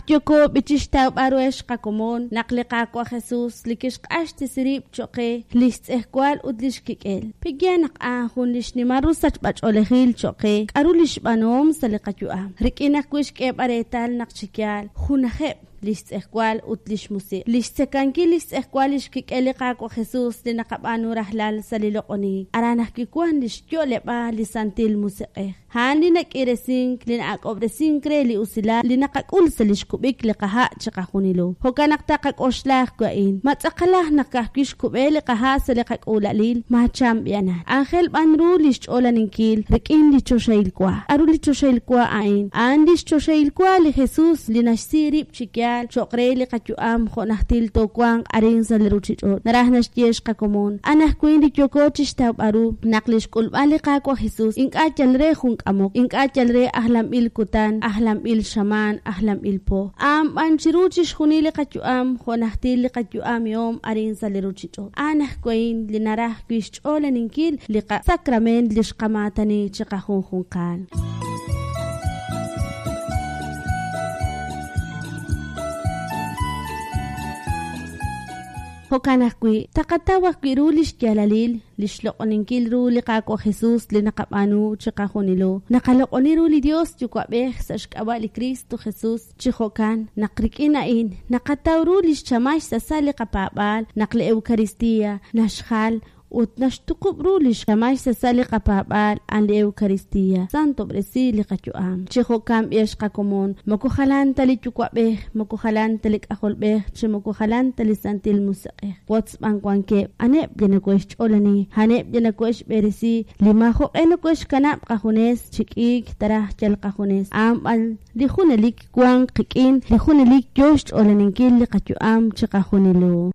Naq yooko b'i chixtawb'al ru ex qakomon naq li Qaawa' Jesus li kixq'axtesi rib' cho'q qe li xtz'ejwal ut li xkik'el. Pe'yaal naq a'an jun li xnimal ru sachb'ach'oolejil cho'q qe k'aru li xb'aanuhom sa' li qayu'am, rik'in ajwi' xk'eeb'al reetal naq chi yaal junajeb' li xtz'ejwal ut li xmusiq'. Li xtzekankil li xtz'ejwal li xkik'el li Qaawa' Jesus li naqab'aanu rajlal sa' li loq'onink, aran ajwi' wank li xyo'leb'aal li Santil Musiq'ej. A'an li nak'iiresink, li na'ak'ob'resink re li usilal li naqak'ul sa' li xkub'ik li qaha' chiqajunilo. Jo'kan naq taqak'oxla ajwi' a'in, Ma tz'aqalaj naq ka'ajwi' xkub'e li qaha' sa' li qak'uula'alil? Maacham b'i'anan. Aajel b'an ru li xch'oolaninkil rik'in li choxahil wa. K'aru li choxahil wa a'in? A'an li xchoxahil wa li Jesus li naxsi rib' chi yaal cho'q re li qayu'am jo' najtil toowanq arin sa' li ruuchich'och'. Naraj naxye xqakomon, anajwin li yooko chi xtawb'al ru naq li xk'ulb'al li Qaawa' Jesus ink'a' yal re jun k'amok, ink'a' yal re ajlanb'il kutan, ajlanb'il xamaan, ajlanb'il po. A'an b'an chiru chixjunil li qayu'am jo' najtil li qayu'amihom arin sa' li ruuchich'och'. A'an ajwi' li naraj wi' xch'oolaninkil li qasakrameent li xqamaatani chiqajunjunqal. Jo'kan ajwi', taqataw ajwi' ru lix yaalalil li xloq'oninkil ru li Qaawa' Jesus li naqab'aanu chiqajunilo. Naqaloq'oni ru li Dios Yuwa'b'ej sa' xk'ab'a' li Kristo Jesus, chi jo'kan naq rik'in a'in naqataw ru lix chamal xsasal li qapaab'aal naq li Eucaristia naxjal ut naxtuqub' ru li xchamal xsasal li qapaab'aal a'an li Eucaristia. Santob'resi li qayu'am. Chi jo'kan b'i ex qakomon, moko jalan ta li Yuwa'b'ej, moko jalan ta li K'ajolb'ej, chi moko jalan ta li Santil Musiq'ej. Wotz b'an wankeb', a'aneb' li nokohe'xch'olani, a'aneb' li nokohe'xb'eresi, li maajo'q'e nokohe'xkanab' qajunes chi k'iik taraj yal qajunes, a'an b'an li junelik wank qik'in, li junelik yoo xch'olaninkil li qayu'am chiqajunilo.